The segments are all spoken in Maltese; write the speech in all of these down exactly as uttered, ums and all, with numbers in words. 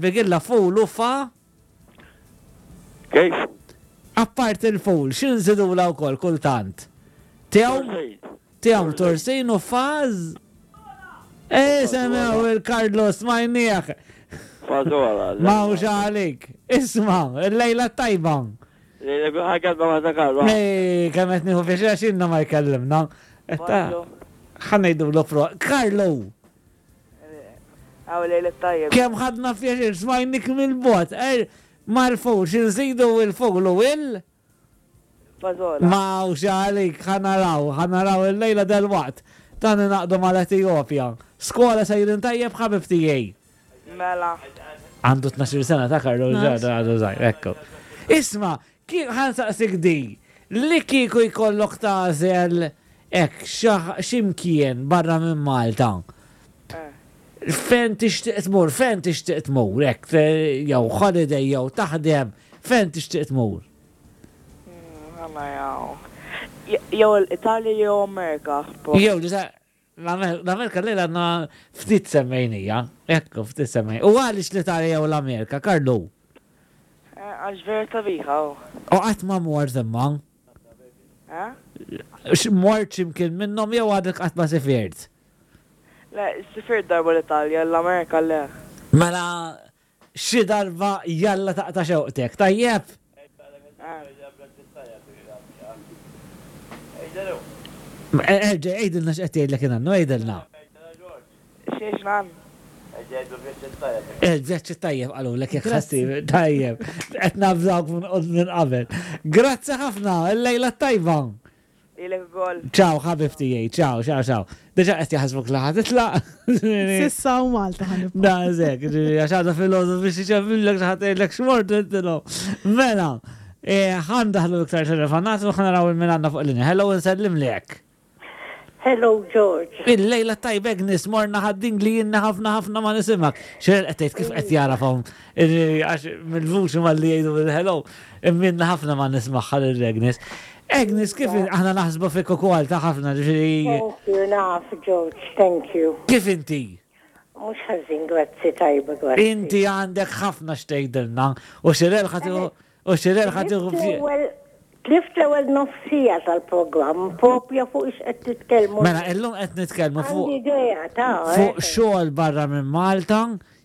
Bigilla ful u fa. Kif? Apart il-ful, x'inżidulha wkoll kultant? Tewm? Tewm, tursin u faż? Eh, semmew il-Carlos majnieħ. Fażola. Mawx għalik. Isma, il-lejla tajba. Ħaġa ma ta' Karlo. Ej, kemm qed nieħu pjaċir għax ilna ma jkellimna. Ħa ngħidulu pro. Carlo, Għaw lejla tajjeb. kemm ħadna pjaċir smajnik mill-bogħod. Er, mal-ful, x'inżidu il-ful u il? Fażola. Mawx għalik, ħa naraw, ħa naraw il-lejla del-waqt. Dan naqdu mal-Etijopja. Skola sejrin tajjeb, ħabib tiegħi. Mela. Għandu tnax-il sena ta' Karlo ġada għadu żgħir, ekku. Isma, kif ħa nsaqsik di, li kieku jkollok tagħżel hekk x'imkien barra minn Malta. Fejn tixtieq tmur, fejn tixtieq tmur, hekk jew holiday jew taħdem, fejn tixtieq tmur? Għanna jaw. Jew l-Italja jew Amerika. Jew l-Amerika li għandna ftit semmejnija, ekku ftit semmejnija. U għaliex l-Italja jew l-Amerika, Karlu? Għax vera sabiħa. U qatt ma mort imma? Mort x'imkien minnhom jew għadek qatt ma sifirt? Le, sifirt darba l-Italja, l-Amerika le. Mela, xi darba jalla taqta' xewqtek, tajjeb? Erġa', għidilna x'qed jgħidlek in-nannu, għidilna. Xiex nan? Il-vjaġġ tajjeb qalulek jekk ħassib, tajjeb. Qed nabżawk minn qabel. Grazzi ħafna, il-lejla tajba. Ilek ukoll. Ciao, ħabib tiegħi, ciao, ciao, ciao. Diġà qed jaħsbuk li ħa titlaq. S'issa u Malta ħa nibqa'. Da, zek, għax għadha filgħodu biex iċemmillek xi ħadd jgħidlek x'mort intilhom. Mela, ħa ndaħlu iktar telefonat u ħa naraw min għandna fuq linja. Hello, nsellimlek. Hello, George. Il-lejla tajba, Agnes, morna ħadding li jinna ħafna ħafna ma nisimak. Xerel qed tgħid kif qed jarafhom għax mill-vuċi malli jgħidu bil-hello, imminna ħafna ma nismaħħa lil Agnes. Agnes, kif aħna naħsbu fik ukoll ta' ħafna ġifieri. Thank you, naf, George, thank you. Kif inti? Mhux ħażin, grazzi tajba, grazzi. Inti għandek ħafna x'tgħidilna u xirel ħa tieħu u xirel ħa tieħu Tlift l-ewwel nofsija tal-programm propja fuq ix qed titkellmu. Mela, illum qed nitkellmu fuq idea ta' fuq xogħol barra minn Malta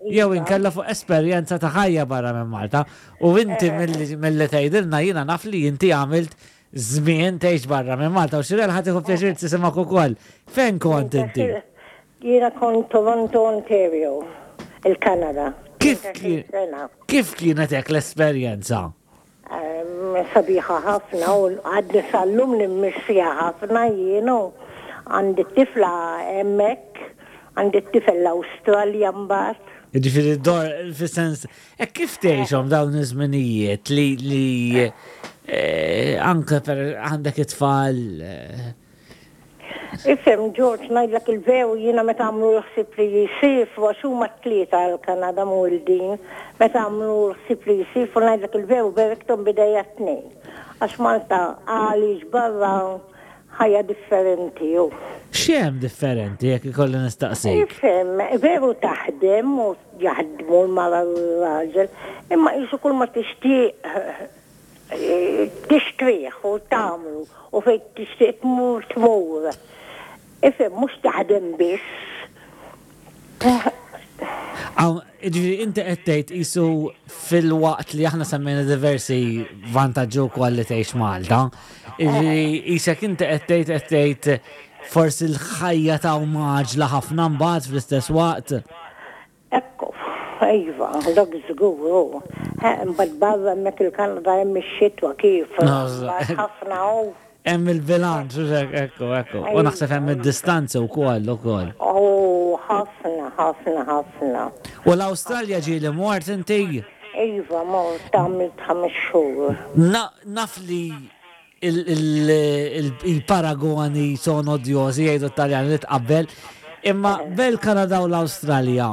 jew inkella fuq esperjenza ta' ħajja barra minn Malta. U inti milli tgħidilna jiena naf li inti għamilt żmien tgħix barra minn Malta u xirel ħa tieħu pjaċir tisimgħek ukoll. Fejn kont inti? Jiena kont Toronto, Ontario, il-Kanada. Kif kif kienet hekk l-esperjenza? Sabiħa ħafna u għadni sal-lum nimmissija ħafna jienu. Għandi t-tifla hemmhekk, għandi t-tifel l-Awstralja mbagħad. Jiġifieri dor fis-sens, e kif tgħixhom dawn iż-żminijiet li li anke per għandek it-tfal? Ifhem, George, ngħidlek il-veru jiena meta għamlu l-ħsieb li jsifru għax huma t-tlieta għall-Kanada mwildin, meta għamlu l-ħsieb li jsifru ngħidlek il-veru berikthom bidejja t-tnejn. Għax Malta għaliex barra ħajja differenti hu. X'hemm differenti jekk ikolli nistaqsik? Ifhem, veru taħdem u jaħdmu l-mara u r-raġel, imma qisu kull ma tixtieq tixtrih u tagħmlu u fejn tixtieq tmur tmur. Ifhem, mhux taħdem biss. Għaw, ġifieri inti qed tgħid qisu fil-waqt li aħna semmejna diversi vantaġġi wkoll li tgħix Malta, ġifieri qisek inti qed tgħid qed tgħid forsi l-ħajja ta' maġla ħafna mbagħad fl-istess waqt. Ekku, iva, dak żgur hu. Imbagħad barra hemmhekk il-Kanada hemm ix-xitwa kif. Ħafna hu. Hemm il-bilanċ, ekku, ekku. U naħseb hemm id-distanza wkoll ukoll. Oh, ħafna, ħafna, ħafna. U l-Awstralja ġieli mort inti? Iva, mort għamilt ħames xhur. Naf li il-paragoni sono odjosi jgħidu t-Taljani li tqabbel, imma bel-Kanada u l-Awstralja.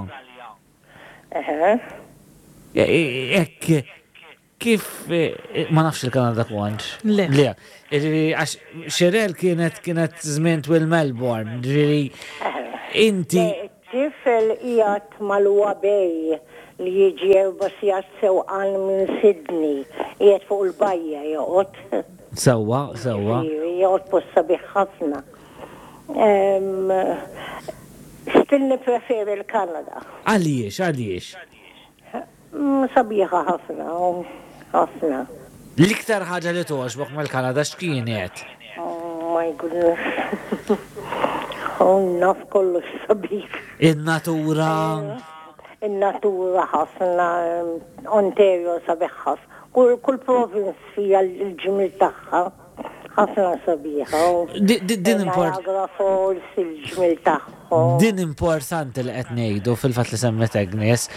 Ekk, kif, ma nafx il-Kanada kontx. Le. Le. Għax Xerel kienet kienet żmien twil Melbourne, ġifieri inti. Tifel qiegħed mal-Wabej li jiġi erba' sigħat sewqan minn Sydney, qiegħed fuq il-bajja joqgħod. Sewwa, sewwa. Joqgħod post sabiħ ħafna. Em, Still nippreferi l-Kanada. Għaliex, għaliex? Mm, Sabiħa ħafna, u ħafna. L-iktar ħaġa li togħġbok mill-Kanada x'kienet? Oh my goodness. Oh, naf kollox sabiħ. In-natura. In-natura ħafna, Ontario sabiħ ħafna. Kull, kull province fija l-ġmil tagħha ħafna sabiħa. Di- di- Din import Niagara Falls, il-ġmil tagħhom. Din importanti li qed ngħidu fil-fatt li semmet Agnes.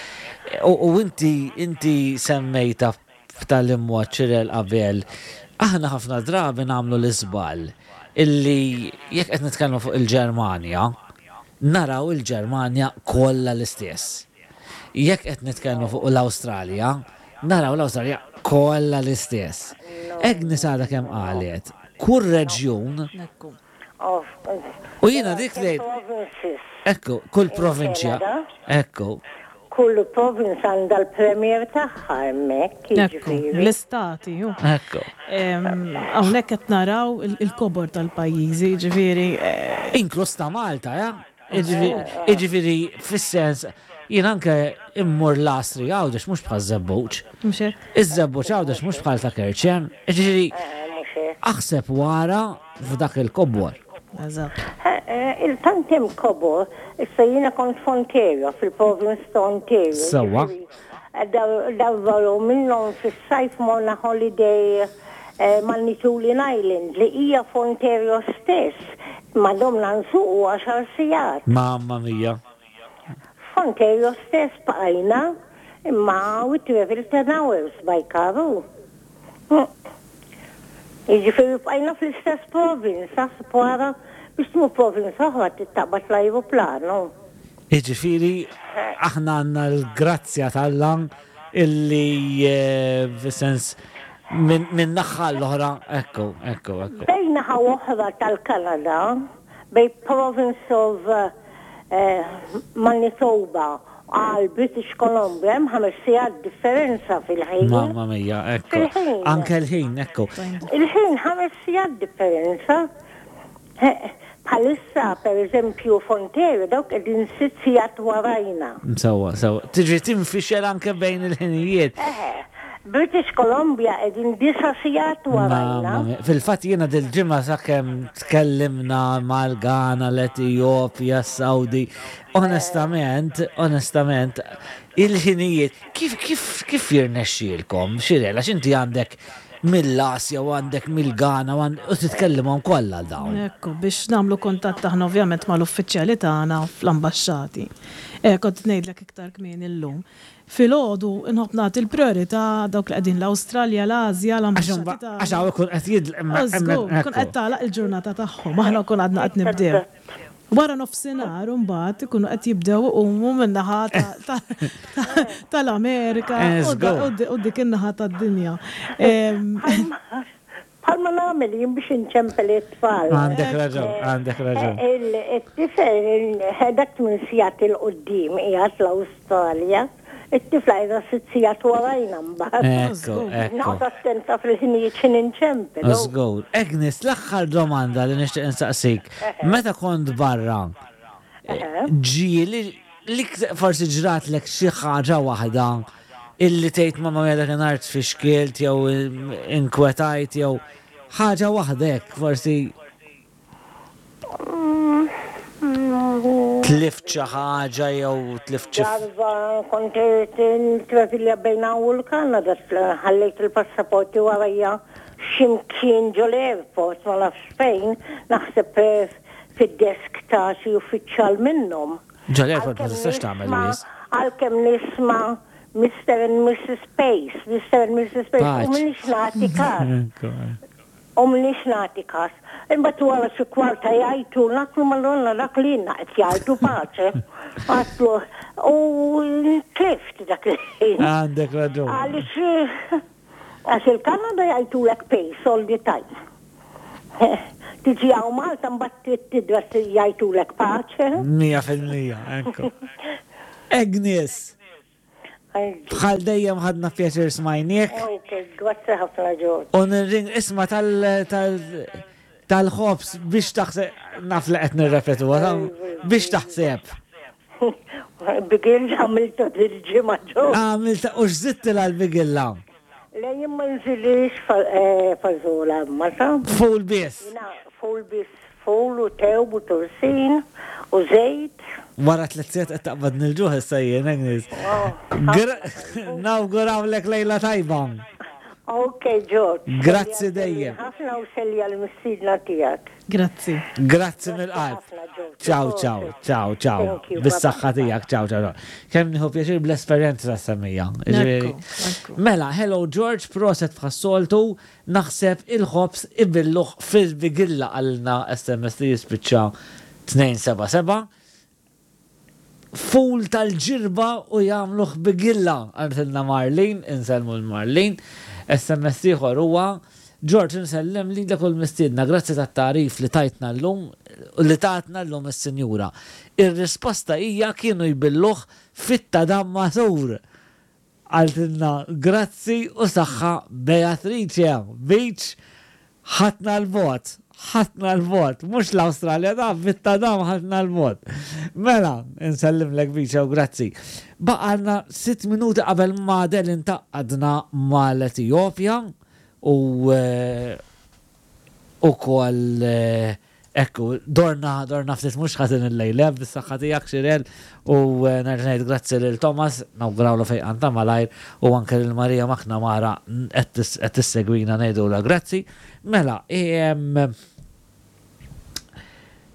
U, u inti inti semmejta f'tal mod Xirel qabel. Aħna ħafna drabi nagħmlu l-iżball illi jekk qed nitkellmu fuq il-Ġermanja, naraw il-Ġermanja kollha l-istess. Jekk qed nitkellmu fuq l-Awstralja, naraw l-Awstralja kollha l-istess. Agnes għadha kemm qalet, kull reġjun Ekku. u jiena dik li Provinces. Ekku, kull provinċja. Canada. Ekku. Kull province għandha l-premier tagħha hemmhekk, Ekku, jiġifieri. l-istati, ju. Ekku. Em, Hawnhekk qed naraw il- il-kobor tal-pajjiżi, ġifieri eh, Inkluż ta' Malta, ja? Iġifieri, fis-sens, jien anke immur l-Astri Għawdex mhux bħal żebbuġ. mhux hekk? Iż-żebbuġ Għawdex mhux bħal ta' Kerċem. Iġifieri, Eh, mhux hekk. aħseb wara f'dak il-kobor. Eżatt. Eh, eh, Il-tant hemm kobor, issa jiena kont f'Ontario, fil-province ta' Ontario. Sewwa. Ġifieri, eh, dar- Darba jew minnhom fis-sajf morna holiday eh, Manitoulin Island li hija f'Ontario stess. Ma domna nsuqu għaxar sigħat. Mamma mia. F'Ontario stess bqajna imma we travel ten hours by car. Mm. Jiġifieri bqajna fl-istess province, aħseb wara biex tmur province oħra taqbad l-ajruplanu. Iġifieri, aħna għandna l-grazzja t'Alla illi eh, fis-sens minn min naħa l-oħra, ekku, ekku, ekku. Bejn naħa oħra tal-Kanada, bejn province of eh, Manitoba għal British Columbia, hemm ħames sigħat differenza fil-ħin. Mamma mia, ekku. Fil-ħin. Anke l-ħin, ekku. Il-ħin ħames sigħat differenza. Eh, Bħalissa, per eżempju, f'Ontario, dawk qegħdin sitt sigħat warajna. Sewwa, sewwa. Tiġi tinfixel anke bejn il-ħinijiet. Eħe, British Columbia qegħdin disa' sigħat warajna. Mamma mia. Fil-fatt jiena dil-ġimgħa sakemm tkellimna mal-Ghana, l-Etjopja, s-Saudi. Onestament, onestament, il-ħinijiet, kif kif kif jirnexxielkom? Xirel, għax inti għandek mill-Asja u għandek mill-Ghana u għand- u titkellimhom kollha dawn. Ekku, biex nagħmlu kontatt aħna ovvjament mal-uffiċjali tagħna fl-ambaxxati. Eh, kont ngħidlek iktar kmieni illum. Filgħodu nħobb nagħti l-priorità dawk li qegħdin l-Awstralja, l-Asja, l-ambaxxati tagħna. Għax hawn ikun qed jidl Żgur, kun qed tagħlaq il-ġurnata tagħhom, aħna kun għadna qed nibdew. Wara nofsinhar imbagħad ikunu qed jibdew iqumu min-naħa ta- ta- ta- tal-Amerika u da- u di- u dik in-naħa tad-dinja. Em, Bħalma nagħmel jien biex inċempel it-tfal. Għandek raġun, għandek raġun. Il-tifel, dak tmien sigħat 'il quddiem qiegħed l-Awstralja, it-tifla qiegħda sitt sigħat warajna mbagħad. Ekku, ekku. Noqgħod attenta fil-ħinijiet x'in inċempel. Żgur. Agnes, l-aħħar domanda li nixtieq insaqsik. Meta kont barra, ġieli li forsi ġratlek xi ħaġa waħda illi tgħid mamma mia dakinhar tfixkilt jew inkwetajt jew ħaġa waħda hekk forsi tlift xi ħaġa jew tlift xi Darba kont travilja bejn u l-Kanada, ħallejt il-passaporti warajja ximkien ġo l-airport, ma nafx fejn, naħseb eh, fid-desk ta' xi uffiċjal minnhom. Ġo l-airport ma tistax tagħmel wis. Għalkemm nisma' Mister and Missus Pace, Mister and Missus Pace, u Paċ. minix nagħti kas. U minix nagħti kas. Imbagħad wara xi kwarta jgħajtu, naklu madonna dak li qed jgħajtu paċe. Għatlu, u tlift dak il-ħin. Għandek raġun. Għaliex għax il-Kanada jgħajtulek Pace all the time. Tiġi hawn Malta mbagħad tidra jgħajtulek paċe. Mija fil-mija, ekku. Agnes, Bħal dejjem ħadna pjaċir smajniek. Ok, grazzi ħafna George. U nirring isma tal tal tal-ħobs biex taħseb, naf li qed nirrepetu, biex taħseb. Bigilla għamilta dil-ġimgħa George. Għamilta u x'żidtilha l-bigilla? Le jien ma nżilix fażola mata. Ful biss. Jiena ful biss, ful u tewm u tursin u żejt. Wara tliet sigħat qed taqbad nil-ġuħ issa jien, Agnes. Nawgurawlek lejla tajba. Ok, George. Grazzi dejjem. Ħafna u selja l-mistiedna tiegħek. Grazzi. Grazzi mill-qalb. Ciao, ciao, ciao, ciao. Thank you, Bis-saħħa tiegħek, ciao, ciao. Kemm nieħu pjaċir bl-esperjenza tas-semmija. Ekku, ekku. Mela, hello George, proset bħas-soltu, naħseb il-ħobs ibilluh fil-bigilla għalna S M S li jispiċċa tnejn seba' seba'. Ful tal-Ġirba u jagħmluh bigilla, qaltilna Marlin, insellmu l-Marlin. S M S ieħor huwa: George, insellem li dak mistiedna, grazzi tat-tarif li tajtna l-lum, li tatna l-lum is-sinjura. Ir-risposta hija kienu jbilluh fit-tadam magħsur. Qaltilna grazzi u saħħa Beatrice, Beach, ħatna l-bot, ħatna l-bot, mhux l-Australja da, bit-tadam ħatna l-bot. Mela, insellimlek Beach u grazzi. Baqalna sitt minuti qabel ma del intaqadna mal-Etjopja u eh, u kol eh, ekku, dorna, dorna ftit mhux ħażin il-lejla, bis-saħħa tiegħek Xirel u eh, nerġa' ngħid grazzi lil Thomas, nawgurawlu fejqan ta' malajr u anke lil Marija McNamara qed tissegwina ngħidulha grazzi. Mela, em,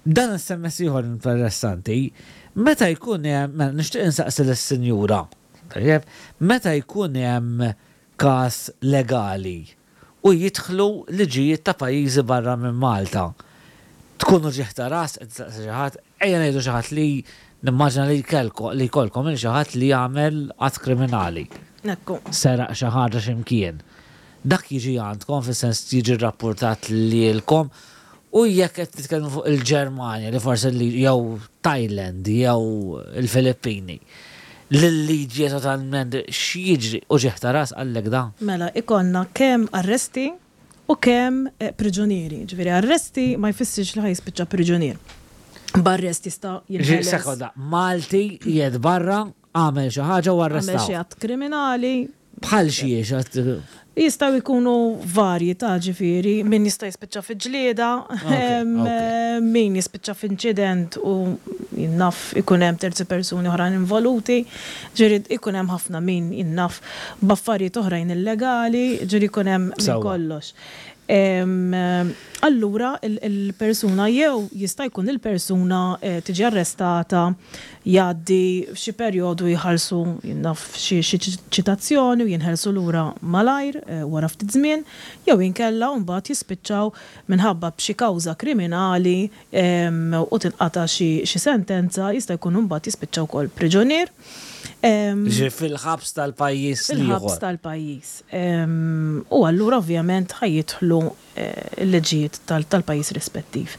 dan S M S ieħor interessanti, meta jkun hemm, mela, nixtieq insaqsi lis-sinjura, tajjeb, meta jkun hemm każ legali u jidħlu liġijiet ta' pajjiżi barra minn Malta. Tkunu uġigħ ta' ras, qed tistaqsi xi ħadd, ejja ngħidu xi ħadd li nimmaġina li kelko li jkollkom il xi ħadd li jagħmel att kriminali. Ekku. Seraq xi ħaġa x'imkien. Dak jiġi għandkom, fis-sens jiġi rrapportat lilkom u jekk qed titkellmu fuq il-Ġermanja li forsi li jew Thailand jew il-Filippini. L-liġi totalment x'jiġri, uġigħ ta' ras għallek da? Mela, ikonna kemm arresti u kemm eh, priġunieri. Ġifieri arresti ma jfissirx li ħa jispiċċa priġunier. B'arrest jista' jinħeles. Sekonda, Malti jed barra, għamel xi ħaġa u Għamel arrestaw. xi att kriminali. Bħal xiex att- Jistgħu jkunu varji ta' ġifieri, min jista' jispiċċa fi ġlieda, em, ok. eh, min jispiċċa f'inċident u jinnaf ikun hemm terzi persuni oħrajn involuti, ġifieri ikun hemm ħafna min jinnaf b'affarijiet oħrajn illegali, ġifieri ikun hemm minn Sewwa. kollox. Em, eh, Allura il- il-persuna jew jista' jkun il-persuna eh, tiġi arrestata, jgħaddi f'xi perjodu, jħallsu jinnaf xi xi ċitazzjoni u jinħelsu lura malajr eh, wara ftit żmien, jew inkella mbagħad jispiċċaw minħabba b'xi kawża kriminali em, u tinqata' xi xi sentenza, jista' jkun mbagħad jispiċċaw ukoll priġunier. Em, Ġi fil-ħabs tal-pajjiż fil-ħabs l-ieħor. tal-pajjiż. Em, U allura ovvjament ħa jidħlu eh, l-liġijiet tal- tal-pajjiż rispettiv.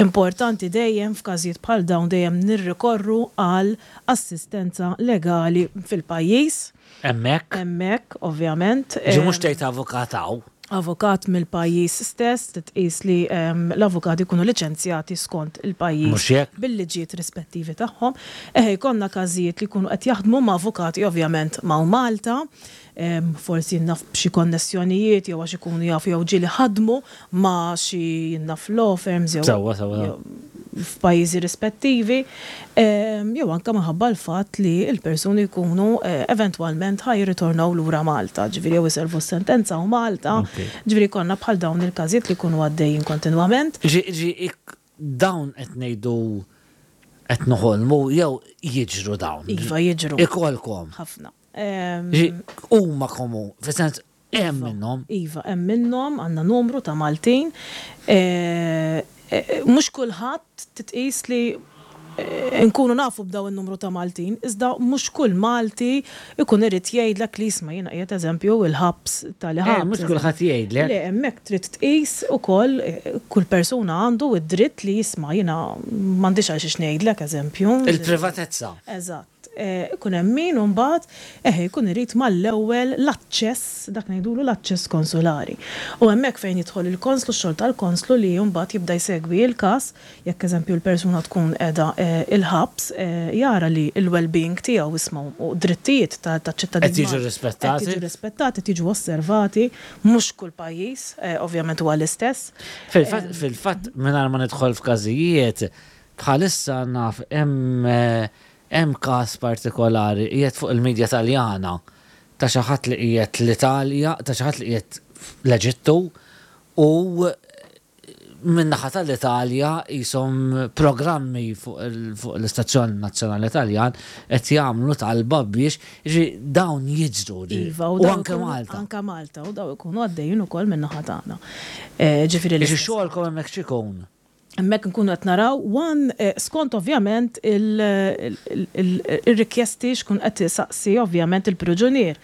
Importanti dejjem f'każijiet bħal dawn dejjem nirrikorru għal assistenza legali fil-pajjiż. Hemmhekk. Hemmhekk, ovvjament. Ġi Em, mhux tgħid avukat hawn. Avukat mill-pajjiż stess, titqis li em, l-avukati jkunu liċenzjati skont il-pajjiż Mhux hekk? bil-liġijiet rispettivi tagħhom. Eħe, jkollna każijiet li jkunu qed jaħdmu ma' avukati ovvjament ma' Malta, em, forsi naf b'xi konnessjonijiet jew għax ikunu jafu jew ġieli ħadmu ma' xi naf law firms jew Sewwa, sewwa. jew f'pajjiżi rispettivi, em, jew anke minħabba l-fatt li l-persuni jkunu eh, eventwalment ħa jirritornaw lura Malta, ġifieri jew iservu s-sentenza u Malta, Ok. ġifieri konna bħal dawn il-każijiet li jkunu għaddejjin kontinwament. Ġi ġi ik- dawn qed ngħidu qed noħolmu jew jiġru dawn? Iva, jiġru. Ikolkom. Ħafna. Em, Ġi huma komu, fis-sens hemm Iva, minnhom. Iva, hemm minnhom, għandna numru ta' Maltin. Eh, eh, Mhux kulħadd titqis li eh, nkunu nafu b'daw in-numru ta' Maltin, iżda mhux kull Malti ikun irid jgħidlek li isma' jiena qiegħed eżempju il-ħabs tal-ħabs. Eh, mhux kulħadd jgħidlek. Le, hemmhekk trid tqis ukoll eh, kull persuna għandu id-dritt li jisma' jiena m'għandix għal xiex ngħidlek eżempju. Il-privatezza. Eżatt. ikun hemm min imbagħad eħe jkun irid mal-ewwel l-aċċess, dak ngħidulu l-aċċess konsulari. U hemmhekk fejn jidħol il-konslu, x-xogħol tal-konslu li mbagħad jibda jsegwi l-każ, jekk eżempju l-persuna tkun qiegħda il-ħabs, jara li l-well-being tiegħu isma' u drittijiet taċ-ċittadin. Qed jiġu rispettati. Qed jiġu rispettati, qed jiġu osservati, mhux kull pajjiż ovvjament huwa l-istess. Fil-fatt, fil-fatt mingħajr ma nidħol f'każijiet, bħalissa naf hemm hemm każ partikolari qiegħed fuq il-medja Taljana ta' xi ħadd li qiegħed l-Italja, ta' xi ħadd li qiegħed l-Eġittu u min-naħa tal-Italja qishom programmi fuq l-Istazzjon Nazzjonali Taljan qed jagħmlu talba biex dawn jiġru. Iva, u anke Malta. Anke Malta, u daw ikunu għaddejjin ukoll min-naħa tagħna. Ġifieri li. Xogħolkom hemmhekk x'ikun? Hemmhekk nkunu qed naraw one skont ovvjament il-rikjesti xkun qed saqsi ovvjament il-priġunier.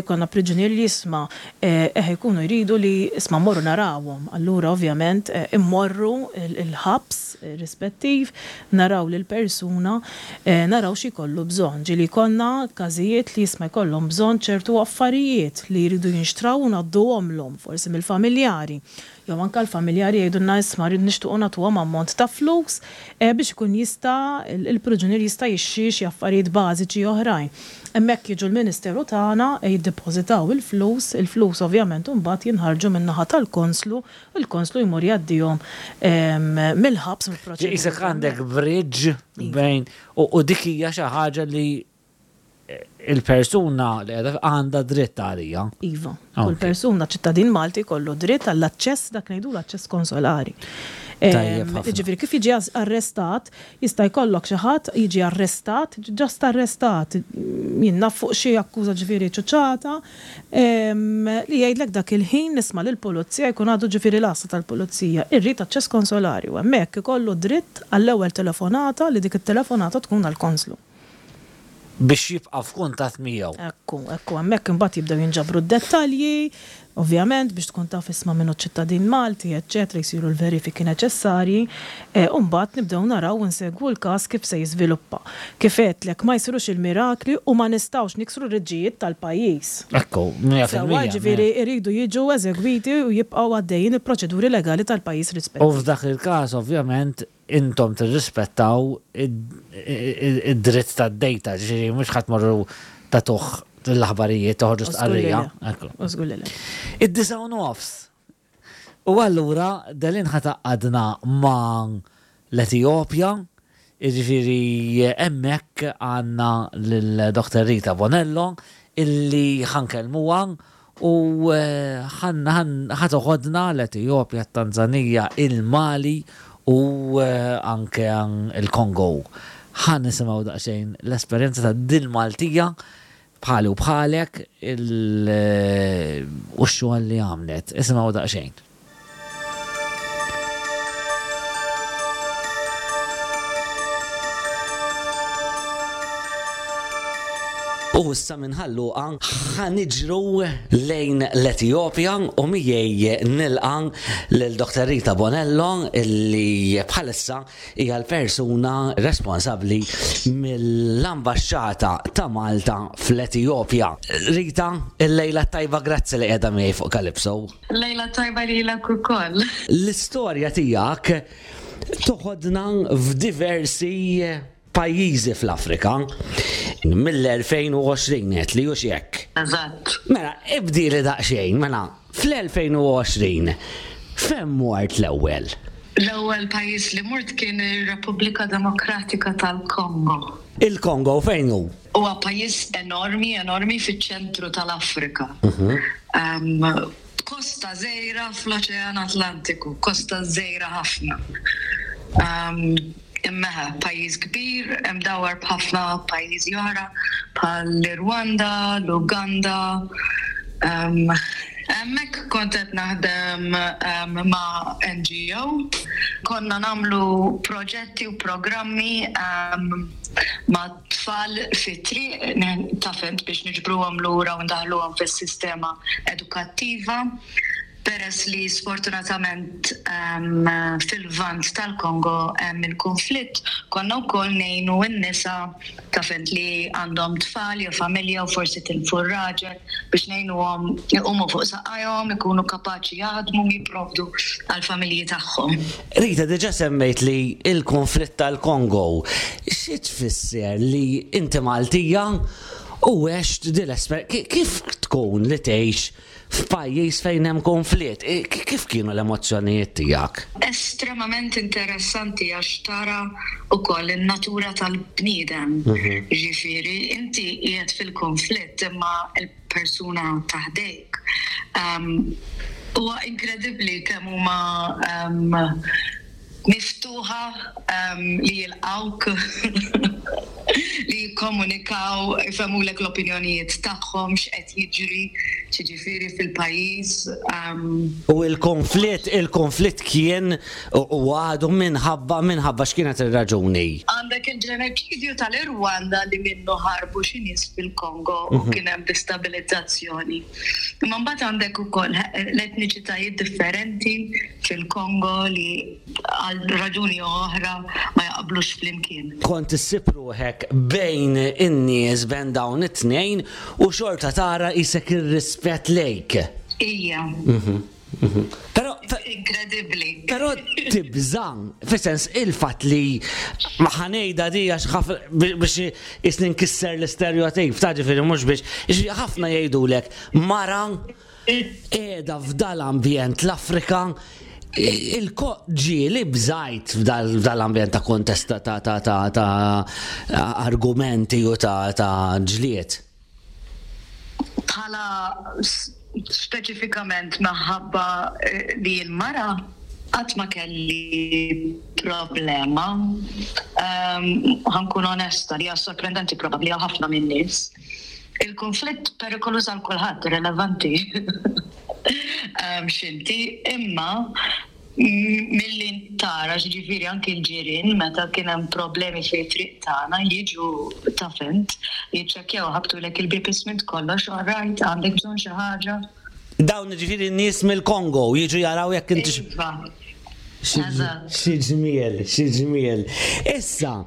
Konna priġunier li jisma' eħe jkunu jridu li isma' mmorru narawhom. Allura ovvjament immorru il-ħabs rispettiv, naraw lil persuna, naraw xi jkollu bżonn. Ġieli jkollna każijiet li jisma' jkollhom bżonn ċertu affarijiet li jridu jinxtraw u ngħadduhomlhom forsi mill-familjari. Jew anke l-familjari jgħidulna isma' rrid nixtiequ nagħtuhom ammont ta' flus biex ikun jista' il-priġunier jista' jixtri xi affarijiet bażiċi oħrajn. Hemmhekk jiġu l-Ministeru tagħna jiddepożitaw il-flus, il-flus ovvjament imbagħad jinħarġu min-naħa tal-konslu, il-konslu jmur jgħaddihom mill-ħabs mill-proċedura. Isek għandek bridge bejn u dik hija xi ħaġa li il-persuna li qiegħda għandha dritt għalija. Iva, kull persuna ċittadin Malti kollu dritt għall-aċċess, dak ngħidu l-aċċess konsolari. Ġifieri kif jiġi arrestat, jista' jkollok xi ħadd jiġi arrestat, ġast arrestat, jien naf fuq xi akkuża ġifieri ċuċata, li jgħidlek dak il-ħin nisma' lill-pulizija jkun għadu ġifieri l-għassa tal-pulizija, irrid aċċess konsolari u hemmhekk ikollu dritt għall-ewwel telefonata li dik it-telefonata tkun għall-konslu. Biex jibqa' f'kuntatt miegħu. Ekku, ekku, hemmhekk imbagħad jibdew jinġabru d-dettalji, ovvjament biex tkun taf isma' minnu ċittadin Malti, eċċetera, jsiru l-verifiki neċessarji, u mbagħad nibdew naraw u nsegwu l-każ kif se jiżviluppa. Kif għedtlek ma jsirux il-mirakli u ma nistgħux niksru r-riġijiet tal-pajjiż. Ekku, mija fil-mija. Ġifieri jridu jiġu eżegwiti u jibqgħu għaddejjin il-proċeduri legali tal-pajjiż rispettiv. U f'dak il-każ ovvjament intom tirrispettaw id-dritt tad-dejta, ġifieri mhux ħadd morru tagħtuh l-aħbarijiet toħorġu stqarrija. Id-disa' u nofs. U allura Delin ħa tgħaqqadna ma' l-Etjopja, jiġifieri hemmhekk għandna lil Doktor Rita Bonello illi ħankellmuha u ħa toħodna l-Etjopja, t-Tanzanija, il-Mali u anke il-Kongo. Ħa nisimgħu daqsxejn l-esperjenza ta' din Maltija bħali u bħalek u x-xogħol li għamlet. Isimgħu daqsxejn. U issa minn Ħal-Luqa ħa niġru lejn l-Etjopja u miegħi nilqa' lil Doktor Rita Bonello illi bħalissa hija l-persuna responsabbli mill-Ambaxxata ta' Malta fl-Etjopja. Rita, il-lejla tajba, grazzi li qiegħda miegħi fuq Calypso. Lejla tajba lilek ukoll. L-istorja tiegħek toħodna f'diversi pajjiżi fl-Afrika mill-elfejn u għoxrin qed li hux hekk. Eżatt. Mela, ibdili daqsxejn, mela, fl-elfejn u għoxrin fejn mort l-ewwel? L-ewwel pajjiż li mort kien ir-Repubblika Demokratika tal-Kongo. Il-Kongo fejn hu? Huwa pajjiż enormi, enormi fiċ-ċentru tal-Afrika. Kosta żgħira fl-Oċean Atlantiku, kosta żgħira ħafna. Imma pajjiż kbir, imdawwar b'ħafna pajjiżi oħra bħal l-Rwanda, l-Uganda. Hemmhekk kont qed naħdem ma' N G O. Konna nagħmlu proġetti u programmi ma' tfal fit-triq, taf int biex niġbruhom lura u ndaħluhom fis-sistema edukattiva. Peress li sfortunatament um, fil-Lvant tal-Kongo hemm il-konflitt, konna wkoll ngħinu n-nisa ta' fint li għandhom tfal jew familja u forsi tilfu r-raġel biex ngħinuhom iqumu fuq saqajhom, ikunu kapaċi jaħdmu u jipprovdu għall-familji tagħhom. Rita, diġà semmejt li il-konflitt tal-Kongo. Xi tfisser li inti Maltija u għext dil-esper... Kif tkun li tgħix f'pajjiż fejn hemm konflitt? E, Kif kienu l-emozzjonijiet tiegħek? Estremament interessanti għax tara ukoll in-natura tal-bniedem. Ġifieri, inti qiegħed fil-konflitt imma il-persuna ta' ħdejk. Um, Huwa inkredibbli kemm huma um, miftuħa um, li jilqawk, li jikkomunikaw, jfehmulek l-opinjonijiet tagħhom x'qed jiġri, ġifieri fil-pajjiż. Um, U il-konflitt, il-konflitt kien u u għadu minħabba minħabba x'kienet ir-raġuni? Għandek il-ġenoċidju tal-Irwanda li minnu ħarbu xi nies fil-Kongo u kien hemm destabilizzazzjoni. Imma mbagħad għandek ukoll l-etniċitajiet differenti fil-Kongo li għal raġuni oħra ma jaqblux flimkien. Kont issib ruħek bejn in-nies, bejn dawn it-tnejn, u xorta tara isek ir-rispett lejk. Ija, Però inkredibbli. Però tibża', fis-sens il-fatt li ma ħa ngħidha di għax ħafna biex jisni nkisser l-istereotip, ta' ġifieri mhux biex, ġifieri ħafna jgħidulek mara qiegħda f'dal-ambjent l-Afrika, il-ko ġieli bżajt f'dal-ambjent ta' kontesta ta' ta' ta' ta' argumenti u ta' ta' ġlied? Bħala s- speċifikament minħabba eh, li l-mara qatt ma kelli problema. Um, ħa nkun onesta li hija sorprendenti probabbli għal ħafna minn nies. Il-konflitt perikoluż għal kulħadd, irrelevanti. um, x'inti, imma m- milli tara, ġifieri anki l-ġirien meta kien hemm problemi fi triq tagħna jiġu ta' fint, jiċċekkjaw, ħabtulek il-bieb ismint kollox, all right, għandek bżonn xi ħaġa. Dawn ġifieri n-nies mill-Kongo jiġu jaraw jekk inti Iva. Eżatt. Xi ġmiel, xi ġmiel. Issa,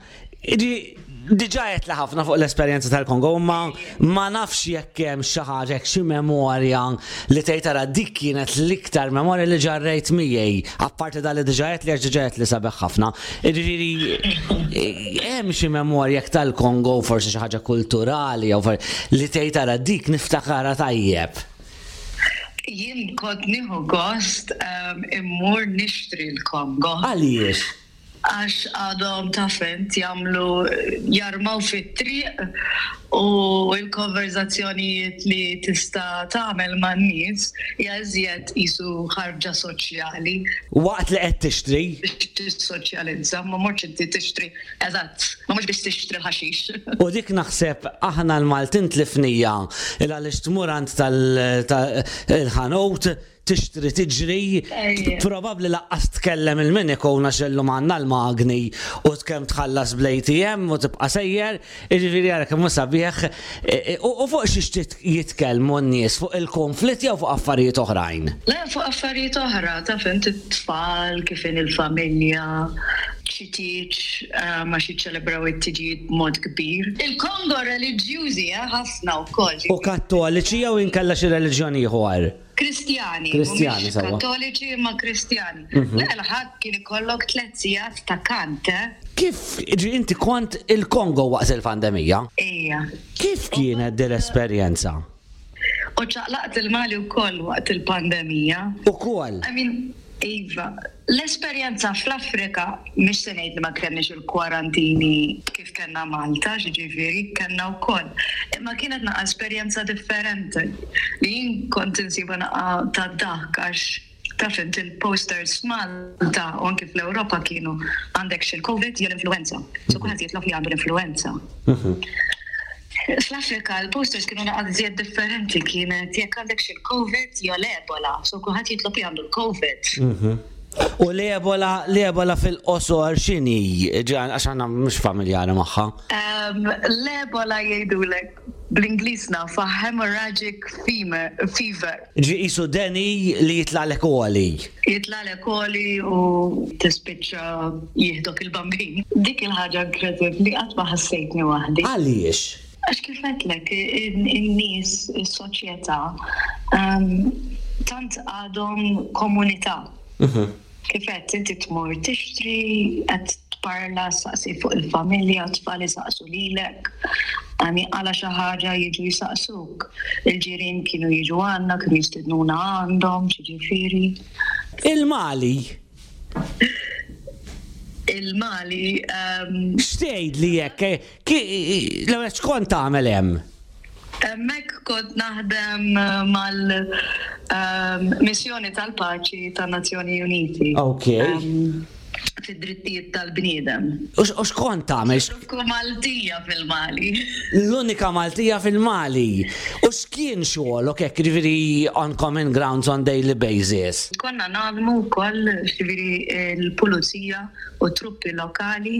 ġi- diġà għedt li ħafna fuq l-esperjenza tal-Kongo, ma ma nafx jekk hemm xi ħaġa, jekk xi memorja li tgħid tara dik kienet l-iktar memorja li ġarrejt miegħi, apparti dal li diġà għedt li għax diġà għedt li sabiħ ħafna. Ġifieri hemm xi memorja jekk tal-Kongo, forsi xi ħaġa kulturali jew for- li tgħid tara dik niftakarha tajjeb. Jien kont nieħu gost um, immur nixtri l-Kongo. Għaliex? Għax għadhom ta' fint jagħmlu jarmaw fit-triq u l-konverzazzjonijiet li tista' tagħmel man-nies hija iżjed qisu ħarġa soċjali Waqt li qed tixtri? Biex tissoċjalizza, ma mortx inti tixtri, eżatt, ma mhux biex tixtri l-ħaxix. U dik naħseb aħna l-Maltin tlifnieha il għaliex tmur għand tal-ħanut tixtri tiġri, Ejja. probabbli lanqas tkellem il-min ikun għax illum għandna l-magni u kemm tħallas bl-A T M u tibqa' sejjer, jiġifieri ara kemm hu sabiħ. E, e, U u fuq xiex jitkellmu n-nies, fuq il-konflitt jew fuq affarijiet oħrajn? Le, fuq affarijiet oħra, ta' fint it-tfal, kif in il-familja, xi tieġ, eh, ma xi ċelebraw it-tiġijiet b'mod kbir. Il-Kongo reliġjużi, eh, ħafna wkoll. U kattoliċi jew inkella xi reliġjon ieħor? Kristjani. Kristjani, mhumiex sewwa. Kattoliċi ma Kristjani. Le, l-Ħadd kien ikollok tliet sigħat ta' kant, eh? Kif ġi inti kont il-Kongo waqt il-pandemija? Ejja. Kif kienet din l-esperjenza? U ċaqlaqt il-Mali wkoll waqt il-pandemija. Ukoll. I mean, Iva, l-esperjenza fl-Afrika, mhix se ngħid li ma kenniex il-kwarantini kif kellna Malta, ġifieri kellna wkoll. Imma kienet naqa esperjenza differenti li jien kont insiba naqa ta' dak għax taf int il-posters f'Malta u anki fl-Ewropa kienu għandek xil-Covid jew l-influenza. So kulħadd jitlob li għandu l-influenza. Fl-Afrika l-posters kienu naqa żjed differenti, kienet jekk għandek xil-Covid jew l-Ebola, so kulħadd jitlob li għandu l-Covid. U l-Ebola, l-Ebola fil-qosor x'inhi? Ġan, għax għandna mhux familjari magħha. Um, L-Ebola jgħidulek Bl-Ingliż nafha hemorrhagic fever. fever. Ġi qisu deni li jitlagħlek għoli. Jitlagħlek għoli u tispiċċa jieħdok il-bambin. Dik il-ħaġa inkredibbli, qatt ma ħassejtni waħdi. Għaliex? Għax kif għedtlek, in-nies, is-soċjetà, um, tant għadhom komunità. Kif qed inti tmur tixtri, qed tparla, saqsi fuq il-familja, tfal isaqsu lilek, għami għala xi ħaġa jiġu jisaqsuk. Il-ġirien kienu jiġu għandna, kienu jistednuna għandhom, ġifieri. Il-Mali, Il-Mali, um, x'tgħid li jekk, l-ewwel x'kont tagħmel hemm? Hemmhekk kont naħdem mal-missjoni tal-paċi tan-Nazzjoni Uniti. Ok. Um, fid-drittijiet tal-bniedem. U x- u x'kont tagħmel? L-unika Maltija fil-Mali. L-unika Maltija fil-Mali. U x'kien xogħolok hekk, ġifieri, on common grounds on daily basis? Konna naħdmu wkoll, ġifieri, il-pulizija u truppi lokali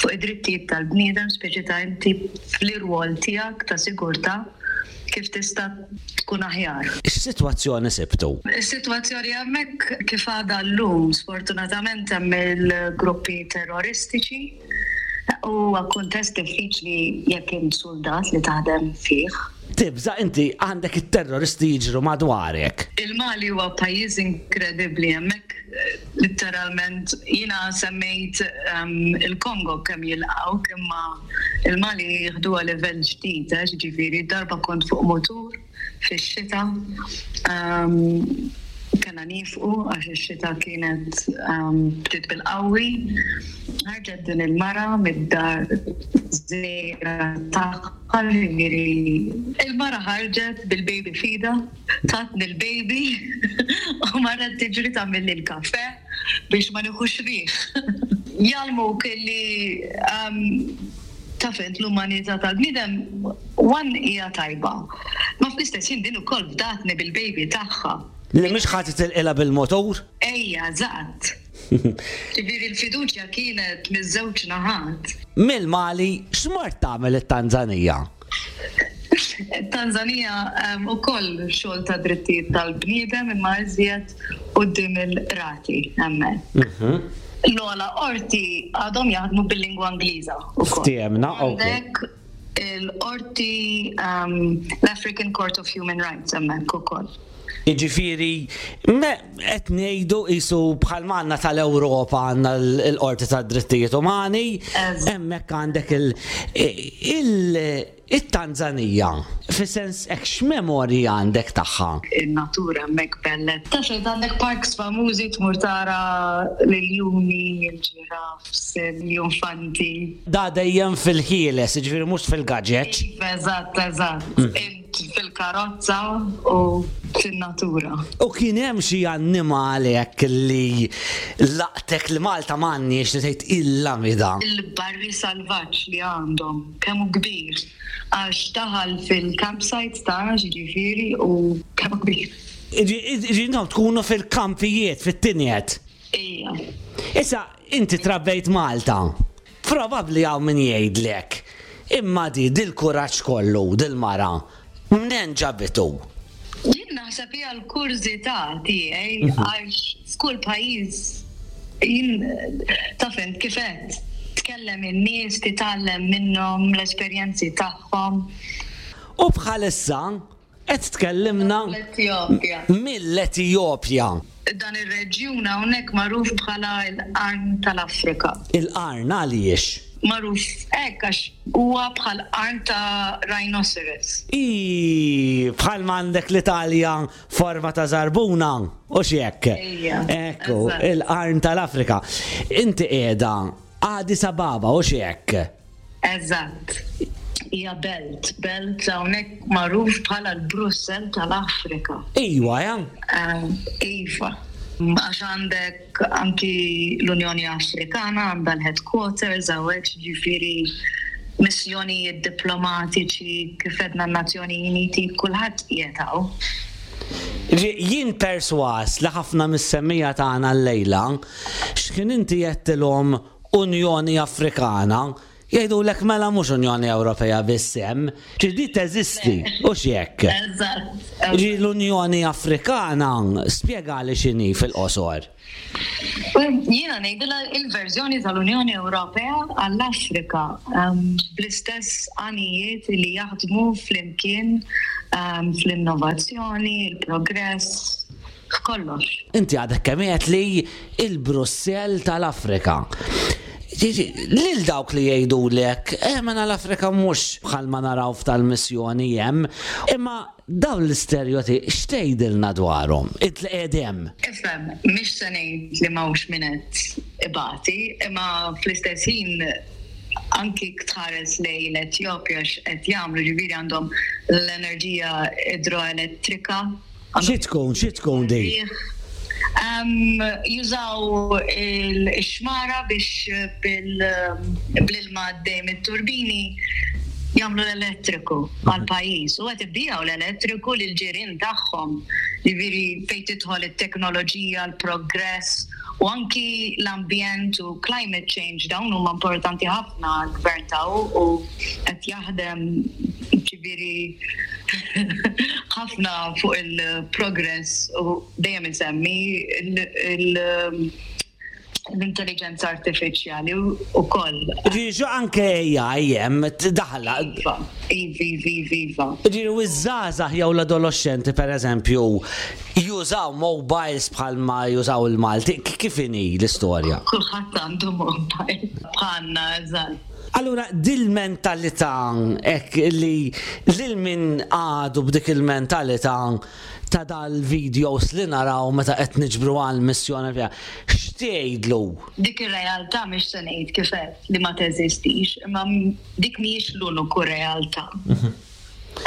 fuq id-drittijiet tal-bniedem, speċi ta' inti fl-irwol tiegħek ta' sigurtà kif tista' tkun aħjar. X'sitwazzjoni sibtu? Is-sitwazzjoni hemmhekk kif għadha llum, sfortunatament hemm il-gruppi terroristiċi u kuntest diffiċli jekk int soldat li taħdem fih. Tibża' inti għandek it-terroristi jiġru madwarek. Il-Mali huwa pajjiż inkredibbli hemmhekk, eh, literalment jiena semmejt um, il-Kongo kemm jilqgħu, imma il-Mali jieħduha livell ġdid, eh, ġifieri darba kont fuq motur fix-xita, um, kellna nieqfu għax ix-xita kienet um, bdiet bil-qawwi. Ħarġet din il-mara mid-dar żgħira tagħha, ġifieri il-mara ħarġet bil-baby f'idha, tatni l-baby u marret tiġri tagħmel il-kafe biex ma nieħux riħ. Jgħallmuk li um, taf int l-umanità tal-bniedem one hija tajba. Ma fl-istess ħin din ukoll fdatni bil-baby tagħha. Li mhux ħa titilqilha bil-motur? Ejja, eżatt. Ġifieri l-fiduċja kienet miż-żewġ naħat. Mill-Mali x'mort tagħmel it-Tanzanija? Tanzania um, ukoll xogħol ta' drittijiet tal-bniedem imma iżjed quddiem il-qrati hemmhekk. L-ogħla qorti għadhom jaħdmu bil-lingwa Ingliża ukoll. Ftiehemna, ok. Għandek il-qorti um, l-African Court of Human Rights hemmhekk ukoll. Jiġifieri, me qed ngħidu qisu bħal għandna tal-Ewropa għandna l-Qorti tad-Drittijiet Umani, Eżatt. hemmhekk għandek il- il- il-Tanzanija. Fis-sens hekk x'memorji għandek tagħha? Il-natura hemmhekk bella. Taf int għandek parks famużi tmur tara l-iljuni, il-ġirafs, l-iljunfanti. Da dejjem fil-ħieles, jiġifieri mhux fil-gaġeġ. Iva, eżatt, eżatt. Int fil-karozza u fin-natura. U kien hemm xi annimal hekk li laqtek li Malta m'għandniex li tgħid illa mida? Il-barri salvaġġ li għandhom, kemm hu kbir, għax daħal fil-campsite tagħna, ġifieri, u kemm hu kbir. Ġi intom tkunu fil-kampijiet, fit-tinjet. Ija. Issa, inti trabbejt Malta. Probabbli hawn min jgħidlek. Imma di dil-kuraġġ kollu, dil-mara, mnen ġabitu? Jien naħseb hija l-kurżità tiegħi għax f'kull pajjiż jien taf int kif qed tkellem in-nies, titgħallem minnhom l-esperjenzi tagħhom. U bħalissa qed tkellimna L-Etjopja. mill-Etjopja. Dan ir-reġjun hawnhekk magħruf bħala l-Qarn tal-Afrika. Il-qarn għaliex? Magħruf hekk għax huwa bħal qarn ta' rhinoceros. I bħal m'għandek l-Italja forma ta' zarbuna, u x'hekk. Ejja, Ekku, eżatt. il-qarn tal-Afrika. Inti qiegħda Addis Ababa, u x'hekk. Eżatt. Hija belt, belt hawnhekk magħruf bħala l-Brussell tal-Afrika. Iwa, ja? Eh, Iva. Għax għandek anki l-Unjoni Afrikana għandha l-headquarters hawnhekk, ġifieri missjonijiet diplomatiċi kif għedna n-Nazzjoni Uniti, kulħadd qiegħed hawn. Ġi- Jien perswas li ħafna mis-semmiegħa tagħna l-lejla, x'kien inti għedtilhom Unjoni Afrikana, Jgħidulek mela mhux Unjoni Ewropea biss hemm, ġifieri teżisti, u x'hekk. Eżatt. Ġi l-Unjoni Afrikana, spjegali x'inhi fil-qosor. Jiena ngħidilha il-verżjoni tal-Unjoni Ewropea għall-Afrika um, bl-istess għanijiet li jaħdmu flimkien um, fl-innovazzjoni, il-progress, f'kollox. Inti għadek kemm għedt li il-Brussell tal-Afrika. Ġiġi, lil dawk li jgħidulek, eh mela l-Afrika mhux bħalma naraw f'tal-missjoni hemm, imma dawn l-istereotipi x'tgħidilna dwarhom? Int li qiegħed hemm. Ifhem, mhix se ngħid li m'hawnx min qed ibati, imma fl-istess ħin anki tħares lejn l-Etjopja x'qed jagħmlu, ġifieri għandhom l-enerġija idroelettrika. Xi tkun, xi tkun di? Um, jużaw il-xmara biex bil-ilma għaddej mit-turbini jagħmlu l-elettriku għal-pajjiż u qed ibigħu l-elettriku lil ġirien tagħhom. Ġifieri fejn tidħol it-teknoloġija, l-progress u anki l-ambjent u climate change dawn huma importanti ħafna għall-gvern taw u qed jaħdem ġifieri ħafna fuq il-progress u dejjem insemmi il- l-intelligenza artifiċjali u koll. Ġiġu anke A I hemm daħla. Iva, iva, iva, iva. Ġifieri u ż-żgħażagħ jew l-adolescenti per eżempju jużaw mobiles bħalma jużaw il-Malti. Kif inhi l-istorja? Kulħadd għandu mobile. Bħalna, eżatt. Allura, dil-mentalità ek li lil min għadu b'dik il-mentalità ta' dal-videos li naraw meta qed niġbru għal missjoni fiha, x'tgħidlu? Dik ir-realtà mhix se ngħid kif qed li ma teżistix, imma dik mhijiex l-uniku realtà.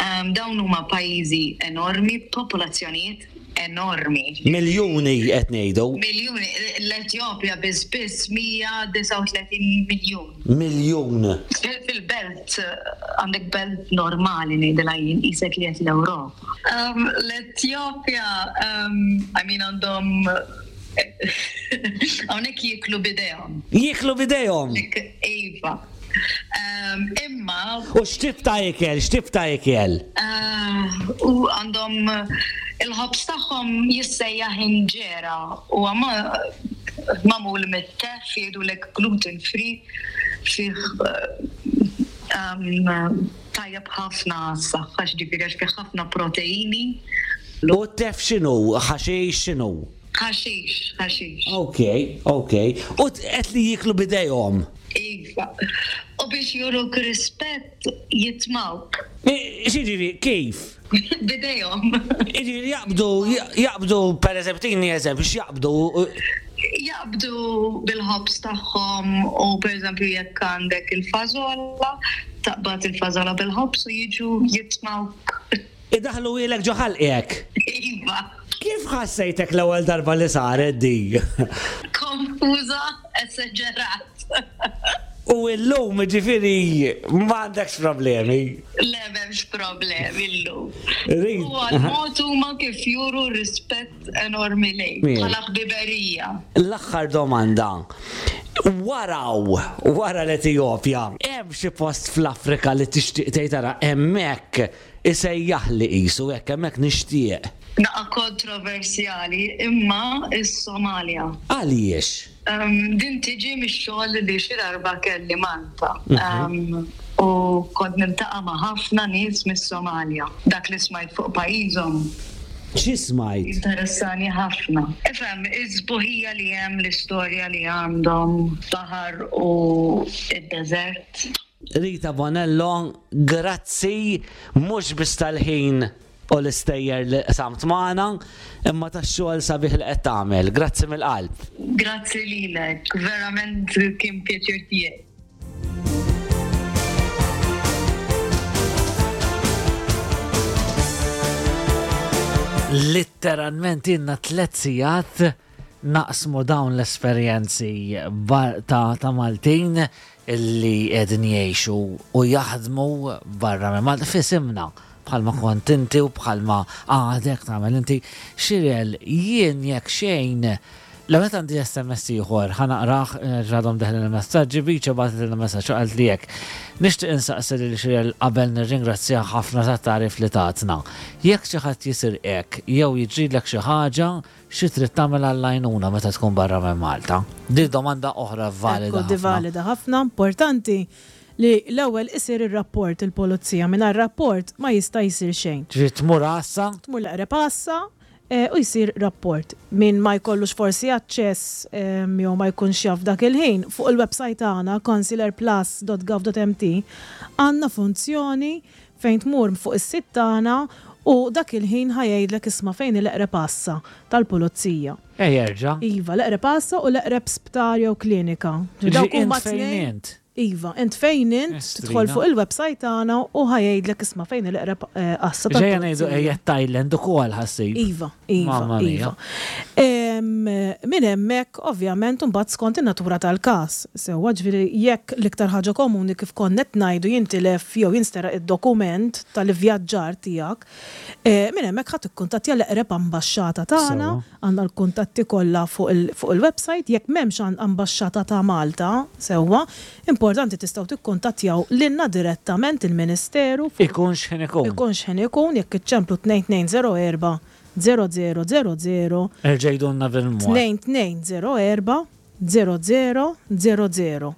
Um, dawn huma pajjiżi enormi, popolazzjonijiet enormi. Miljuni qed ngħidu. Miljuni, l-Etjopja biss biss mija disgħa u tletin miljun. Miljun. Fil-belt, għandek belt normali ngħidilha jien qisek li qed l-Ewropa. Um, L-Etjopja, um, I mean, għandhom hawnhekk jieklu b'idejhom. Jieklu b'idejhom. Iva. Um, imma U x'tip ta' ikel, x'tip ta' ikel? Uh, u għandhom il-ħobż tagħhom jissejjaħ inġera u għama magħmul mit-teff, jgħidulek gluten free, fih um, tajjeb ħafna s-saħħa, ġifieri għax fih ħafna proteini. U t-teff x'inhu? Ħaxix x'inhu? Ħaxix, ħaxix. Ok, ok. U qed li jieklu b'idejhom. Iva. U biex juruk rispett jitmawk. X'jiġifieri, kif? B'idejhom. Jiġifieri jaqbdu, jaqbdu, per eżempju, tini eżempju, x'jaqbdu? Jaqbdu bil-ħobż tagħhom u per eżempju jekk għandek il-fażola, taqbad il-fażola bil-ħobż u jiġu jitmawk. Idaħħluhielek ġo ħalqek. Iva. Kif ħassejtek l-ewwel darba li saret di? Konfuża, esaġerat. U illum ġifieri m'għandekx problemi. Le, m'hemmx problemi illum. Rid- U għal-mod huma kif juru rispett enormi lejk, Min? bħala ħbiberija. L-aħħar domanda. Waraw, wara l-Etjopja, hemm xi post fl-Afrika li tixtieq tgħid tara hemmhekk isejjaħli qisu hekk hemmhekk nixtieq? Naqa kontroversjali, imma is-Somalja. Għaliex? Um, din tiġi mix-xogħol li xi darba kelli Malta. Um, u kont niltaqa' ma' ħafna nies mis-Somalja. Dak li smajt fuq pajjiżhom Xi smajt? interessani ħafna. Ifhem, iż-sbuħija li hemm, l-istorja li għandhom, baħar u id-deżert. Rita Bonello, grazzi mhux biss tal-ħin u l-istejjer li qsamt magħna, imma tax-xogħol sabiħ li qed tagħmel. Grazzi mill-qalb. Grazzi lilek, verament kien pjaċir tiegħi. Literalment ilna tliet sigħat naqsmu dawn l-esperjenzi bar- ta', ta' Maltin illi qegħdin jgħixu u jaħdmu barra minn Malta f'isimna, bħalma kont inti u bħalma għadek tagħmel inti. Xirel, jien jekk xejn L-għamet għandi S M S ieħor, ħa naqrah, ġadhom deħlin il-messaġġi, biċa bagħtet il-messaġġ u qalt li hekk. Nixtieq insaqsi lil Xirel qabel nirringrazzja ħafna tat-tagħrif li tatna. Jekk xi ħadd jisirqek jew jiġrilek xi ħaġa, xi trid tagħmel għall-għajnuna meta tkun barra minn Malta? Di domanda oħra valida. Ekku, di valida ħafna, importanti li l-ewwel isir ir-rapport il-pulizija. Mingħajr rapport ma jista' jsir xejn. Ġifieri tmur għassa? Tmur l-eqreb għassa eh, u jsir rapport. Min ma jkollux forsi aċċess em, jew ma jkunx jaf dak il-ħin, fuq il-website tagħna consularplus dot gov dot M T għandna funzjoni fejn tmur fuq is-sit tagħna u dak il-ħin ħa jgħidlek isma' fejn l-eqreb għassa tal-pulizija. Ej, jerġa'. Iva, l-eqreb għassa u l-eqreb sptar jew klinika. Ġifieri Dawk int huma fejn tnejn. int? Iva, int fejn int, Estrina. tidħol fuq il-website tagħna u ħa jgħidlek isma' fejn l-eqreb eh, għassa Ġejja ngħidu tal-pulizija. ejja Thailand ukoll ħassib. Iva, iva, Mamma mia. iva. Em, Min hemmhekk ovvjament imbagħad skont in-natura tal-każ. Sewwa, ġifieri jekk l-iktar ħaġa komuni, kif konna qed ngħidu, jintilef jew jinsteraq id-dokument tal-ivvjaġġar tiegħek, eh, minn hemmhekk ħadd tikkuntattja l-eqreb ambaxxata tagħna, Sewwa. għandna l-kuntatti kollha fuq il- fuq il-website, jekk m'hemmx għan- ambaxxata ta' Malta, sewwa, importanti tistgħu tikkuntattjaw lilna direttament il-Ministeru fuq Ikun x'ħin ikun. Ikun x'ħin ikun, jekk iċċemplu tnejn tnejn żero erba' żero żero żero żero. Erġa' għidulna bil-mod. tnejn tnejn żero erba' żero żero żero żero.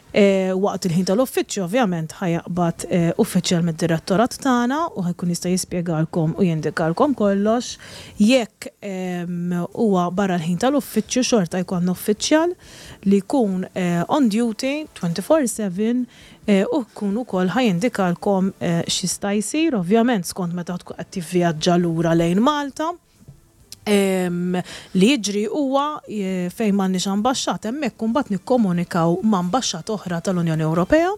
E, waqt il-ħin tal-uffiċċju ovvjament ħa jaqbad e, uffiċjal mid-direttorat tagħna u ħa jkun jista' jispjegalkom u jindikalkom kollox. Jekk em, huwa barra l-ħin tal-uffiċċju, xorta jkun uffiċjal li jkun eh, on duty twenty-four seven eh, u jkun ukoll ħa jindikalkom eh, x'jista' jsir, ovvjament skont meta tkun qed tivvjaġġa lura lejn Malta. Em, li jiġri huwa eh, fejn m'għandniex ambaxxat hemmhekk imbagħad nikkomunikaw ma' ambaxxat oħra tal-Unjoni Ewropea.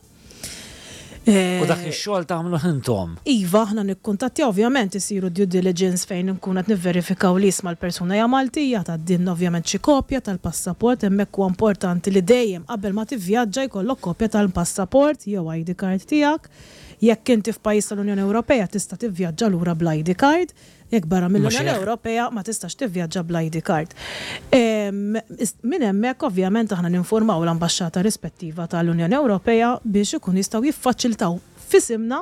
Eh, U dak ix-xogħol tagħmlu intom. Iva, aħna nikkuntattja, ovvjament isiru due diligence fejn nkun qed nivverifikaw li isma' l-persuna hija Maltija, tgħaddilna ovvjament xi kopja tal-passaport. Hemmhekk huwa importanti li dejjem qabel ma tivvjaġġa jkollok kopja tal-passaport jew I D card tiegħek. Jekk inti f'pajjiż tal-Unjoni Ewropea tista' tivvjaġġa lura bl-I D card, jekk barra mill-Unjoni hekk. Ewropea ma tistax tivvjaġġa bl-I D card. Em, is- Minn hemmhekk ovvjament aħna ninformaw l-ambaxxata rispettiva tal-Unjoni Ewropea biex ikun jistgħu jiffaċiltaw f'isimna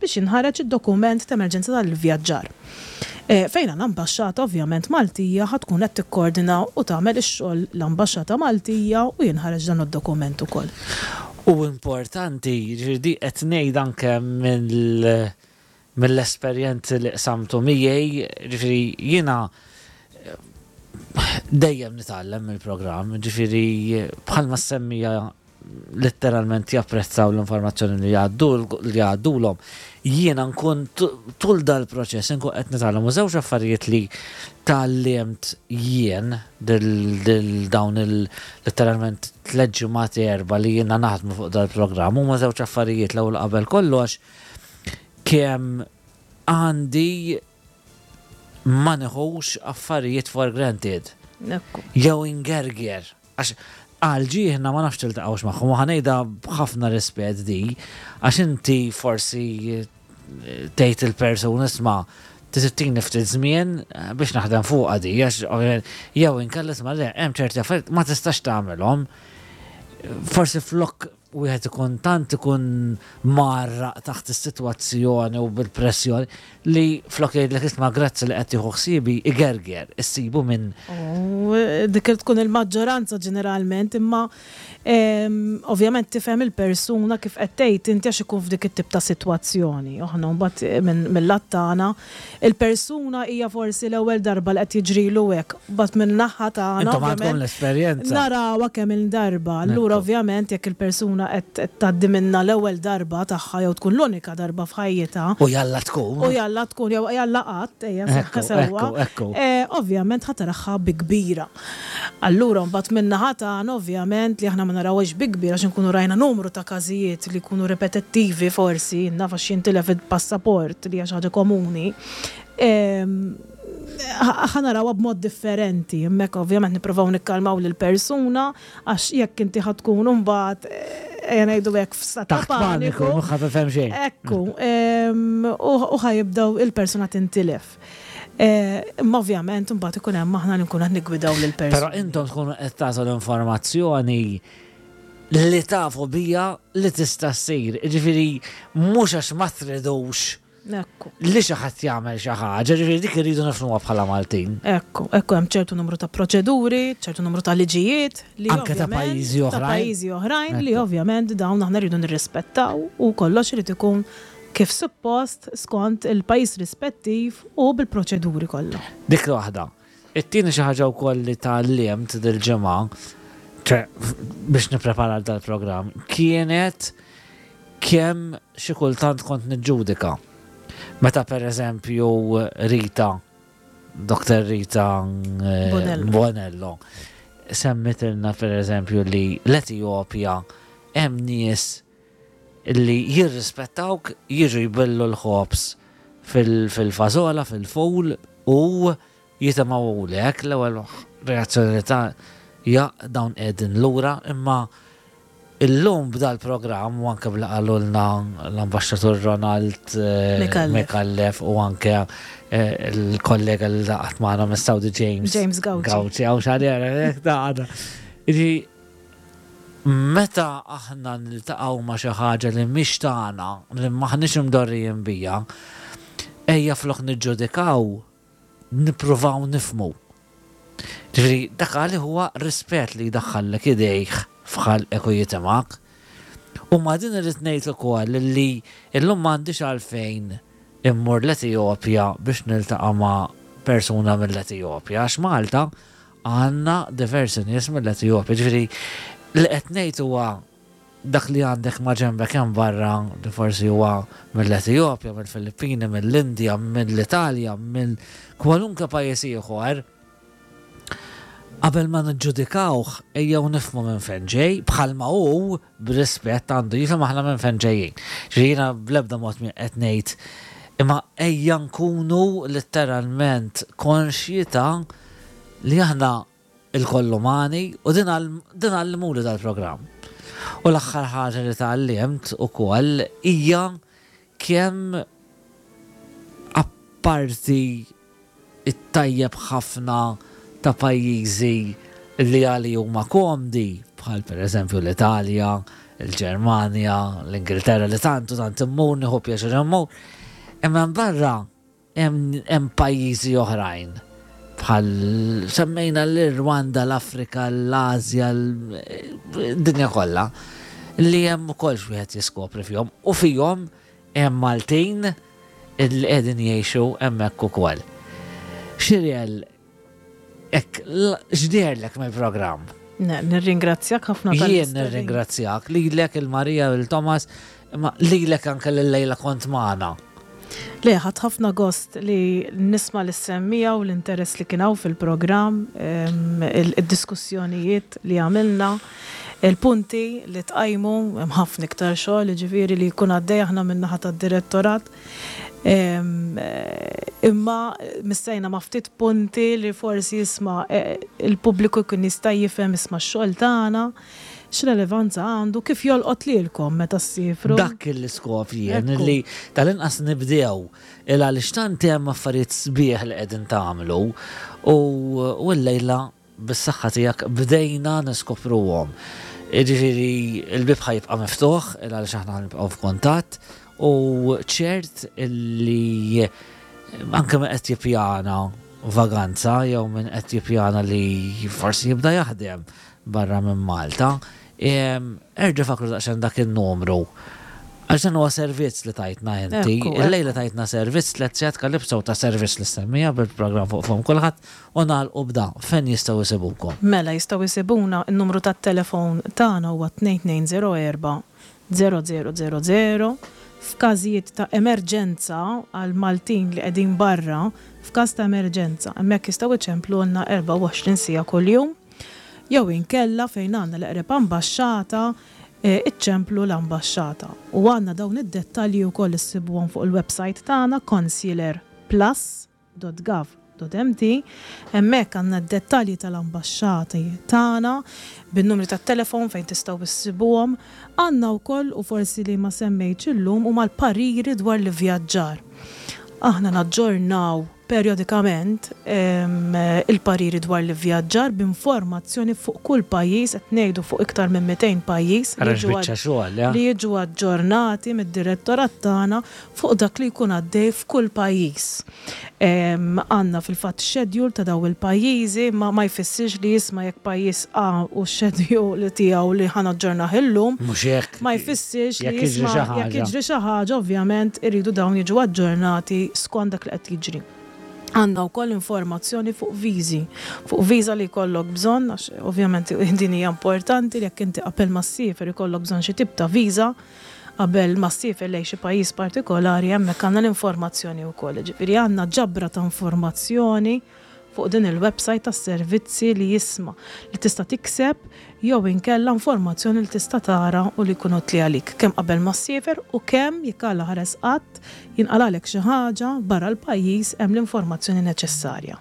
biex jinħareġ id-dokument ta' emerġenza tal-vjaġġar. Eh, Fejn għandna ambaxxata ovvjament Maltija, ħa tkun qed tikkoordina u tagħmel ix-xogħol l-ambaxxata Maltija u jinħareġ dan id-dokument ukoll. U importanti, ġifieri di qed ngħid anke mill mill-esperjenzi li qsamtu miegħi, ġifieri jiena eh, dejjem nitgħallem mill-programm, ġifieri bħalma semmija letteralment japprezzaw l-informazzjoni li jgħaddu li jgħaddulhom. Jiena nkun tu- tul dal-proċess nkun qed nitgħallem u żewġ affarijiet li tgħallimt jien dil dil dawn il letteralment tliet ġimgħat, erba' li jiena naħdmu fuq dal-programm huma żewġ affarijiet. L-ewwel qabel kollox, kemm għandi ma neħux affarijiet for granted Ekku. jew ingerger. Għax għal ġieħna ma nafx tiltaqgħux magħhom, u ħa ngħidha b'ħafna rispett di, għax inti forsi eh, tgħid il-persuna, isma' titini ftit żmien eh, biex naħdem fuqha di, għax ovvjament, jew inkella isma' le, hemm ċerti affarijiet ma tistax tagħmelhom. Forsi flok wieħed ikun tant ikun marraq taħt is-sitwazzjoni u bil-pressjoni li flok jgħidlek isma' grazzi li qed tieħu ħsiebi, igerger, issibu minn U dik tkun il-maġġoranza ġeneralment, imma em, ovvjament tifhem il-persuna kif qed tgħid inti għax ikun f'dik it-tip ta' sitwazzjoni. Aħna mbagħad minn mill-lat tagħna il-persuna hija forsi l-ewwel darba li qed jiġrilu hekk, mbagħad minn naħa tagħna Intom għandkom ovvjament l-esperjenza. narawha kemm il-darba. Allura Ekku. ovvjament jekk il-persuna qed qed tgħaddi minna l-ewwel darba tagħha jew tkun l-unika darba f'ħajjitha, U jalla tkun. u jalla tkun jew jalla qatt, ejja Ekku, sewwa. ekku, ekku. Eh, Ovvjament ħa taraha bi kbira. Allura mbagħad min-naħa tagħna ovvjament li aħna ma narawhiex bi kbira għax inkunu rajna numru ta' każijiet li jkunu ripetittivi, forsi naf għax jintilef il-passaport li hija xi ħaġa komuni. Em, ħa narawha b'mod differenti. Hemmhekk ovvjament nippruvaw nikkalmaw lill persuna għax jekk inti ħa tkun imbagħad eh, ejja ngħidu hekk f'stat ta' Taħt paniku, paniku. mhux ħa tifhem xejn. Ekku, em, u u ħa jibdaw il-persuna tintilef. Eh, Imma ovvjament imbagħad ikun hemm aħna li nkunu qed niggwidaw lil Però persuni. intom tkunu qed tagħtu l-informazzjoni li tafu bija li tista' ssir. Ġifieri mhux għax ma tridux Ekku. li xi ħadd jagħmel xi ħaġa, ġifieri dik irridu nifhmuha bħala Maltin. Ekku, ekku hemm ċertu numru ta' proċeduri, ċertu numru ta' liġijiet li Anke ta' ovvjament- pajjiżi Ta' oħrajn. pajjiżi oħrajn li Ekku. ovvjament dawn aħna rridu nirrispettaw u kollox irid ikun kif suppost skont il-pajjiż rispettiv u bil-proċeduri kollha. Dik waħda. It-tieni xi ħaġa wkoll li tgħallimt dil-ġimgħa, ċe biex nipprepara għal dal-programm, kienet kemm xi kultant kont niġġudika. Meta per eżempju Rita, Dr. Rita eh, Bonello. Bonello, semmitilna per eżempju li l-Etjopja hemm nies li jirrispettawk jiġu jbillu l-ħobs fil- fil-fażola, fil-ful u jitimgħulek l-ewwel reazzjoni ta' ja dawn qegħdin lura imma illum b'dal-programm u anke bla qalulna l-ambaxxatur Ronald eh, Micallef. Micallef u anke eh, il-kollega li laqat magħna mis-Saudi James James Gauci. Gauci għaw xarjera, da għada. Iġi, meta aħna niltaqgħu ma' xi ħaġa li mhix tagħna, li m'aħniex imdorrijin bija, ejja flok niġġudikaw, nippruvaw nifmu. Ġifieri, dak għali huwa rispett li jdaħħallek idejh f'ħalqek u jitimak. U ma din irrid ngħid ukoll li illum m'għandix għalfejn immur l-Etijopja biex niltaqa' ma' persuna mill-Etijopja, għax Malta għandna diversi nies mill-Etijopja. Ġifieri, li qed ngħid huwa dak li għandek ma' ġenbek hemm barra li forsi huwa mill-Etijopja, mill-Filippini, mill-Indja, mill-Italja, mill kwalunke pajjiż ieħor. Qabel ma niġġudikawh ejjew nifhmu minn fejn ġej, bħalma hu b'rispett għandu jifhem aħna minn fejn ġejjin. Ġifieri jiena bl-ebda mod mi qed ngħid imma ejja nkunu letteralment konxji ta' li aħna il-koll umani u din għall- din għallimuli dal-programm. U l-aħħar ħaġa li tgħallimt ukoll hija kemm apparti it-tajjeb ħafna ta' pajjiżi li għali huma komdi, bħal per eżempju l-Italja, il-Ġermanja, l-Ingilterra li tantu tant immur, nieħu pjaċir immur. Imma barra hemm hemm pajjiżi oħrajn bħal semmejna l-Rwanda, l-Afrika, l-Asja, l-dinja kollha li hemm ukoll wieħed jiskopri fihom u fihom hemm Maltin li qegħdin jgħixu hemmhekk ukoll. Xiriel, ek, x'deherlek mill-programm? Ne, Nirringrazzjak ħafna Jien tal-istedina. nirringrazzjak lilek il-Marija u il-Thomas, imma lilek anke l-lejla kont magħna. Le, ħadt ħafna gost li nisma l-semmija u l-interess li kien hawn fil-programm, em, il- il-diskussjonijiet li għamilna, il-punti li tqajmu, hemm ħafna iktar xogħol, ġifieri li jkun għaddej aħna min-naħa tad-direttorat. Em, eh, Imma missejna ma ftit punti li forsi jisma' eh, il-pubbliku jkun jista' jifhem isma' x-xogħol tagħna, x'relevanza għandu, kif jolqot lilkom meta ssifru. Dak l-iskop jien Ekku. li tal-inqas nibdew il għaliex tant hemm affarijiet sbieħ li qegħdin tagħmlu u u l-lejla bis-saħħa tiegħek bdejna niskopruhom. Jiġifieri il-bib ħa jibqa' miftuħ il għaliex aħna nibqgħu f'kuntatt u ċert illi anke min qed jippjana vaganza jew min qed jippjana li forsi jibda jaħdem barra minn Malta, em, erġa' fakru daqsxejn dak in-numru. Għax dan huwa servizz li tajtna inti. Ekku, Il-lejla tajtna servizz tliet sigħat Calypso ta' servizz li semmija bil-programm fuq fom kulħadd u nagħlqu b'da fejn jistgħu jsibukom. Mela jistgħu jsibuna n-numru tat-telefon tagħna huwa tnejn tnejn zero erba' zero zero zero zero. F'każijiet ta' emerġenza għal Maltin li qegħdin barra, f'każ ta' emerġenza, hemmhekk jistgħu iċemplulna erbgħa u għoxrin siegħa kuljum, jew inkella fejn għandna l-eqreb ambaxxata, eh, iċċemplu l-ambaxxata. U għandna dawn id-dettalji wkoll issibuhom fuq il-website tagħna consular plus dot gov dot m t. Hemmhekk għandna d-dettalji tal-ambaxxati tagħna bin-numri tat-telefon fejn tistgħu issibuhom. Għandna wkoll, u forsi li ma semmejtx illum, huma l-pariri dwar l-ivvjaġġar. Aħna naġġornaw Periodikament il-pariri dwar l-ivvjaġġar b'informazzjoni fuq kull pajjiż, qed ngħidu fuq iktar minn mitejn pajjiż, li jiġu aġġornati mid-direttorat tagħna fuq dak li jkun għaddej f'kull pajjiż. Għandna fil-fatt schedule ta' daw il-pajjiżi, ma ma jfissirx li jisma' jekk pajjiż A u schedule tiegħu li ħa naġġornah illum. Mhux hekk. Ma jfissirx li jisma' jekk jiġri xi ħaġa, ovvjament iridu dawn jiġu aġġornati skont dak li qed jiġri. Għandna wkoll informazzjoni fuq viżi, fuq viża li jkollok bżonn, għax ovvjament din hija importanti li jekk inti qabel ma ssiefer ikollok bżonn xi tip ta' viża qabel ma ssiefer lejn xi pajjiż partikolari, hemmhekk għandna l-informazzjoni wkoll. Ġifieri għandna ġabra ta' informazzjoni fuq din il-website tas-servizzi li jisma' li tista' tikseb jew inkella informazzjoni li tista' tara u li jkun utli għalik kemm qabel ma ssiefer u kemm jekk Alla ħares qatt jinqalalek xi ħaġa barra l-pajjiż, hemm l-informazzjoni neċessarja.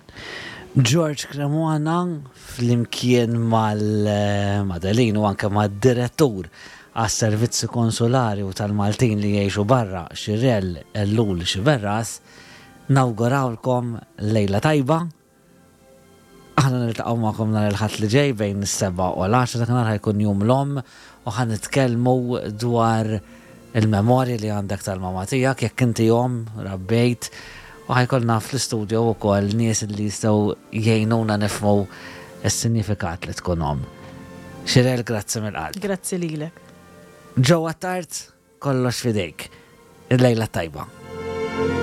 George Cremona flimkien mal-Madelin u anke mad-direttur għas-servizzi konsulari u tal-Maltin li jgħixu barra, Xirel Ellul Xiberras, nawgurawlkom lejla tajba. Aħna niltaqgħu magħkom nhar il-Ħadd li ġej bejn is-sebgħa u l-għaxra. Dakinhar ħa jkun Jum l-Omm u ħa nitkellmu dwar il-memorji li għandek tal-mama tiegħek jekk inti omm rabbejt, u ħa jkollna fl-istudio wkoll nies li jistgħu jgħinuna nifhmu s-sinifikat li tkun omm. Xirel, grazzi mill-qalb. Grazzi lilek. Ġewwa tard, kollox fidejk. Il-lejla tajba.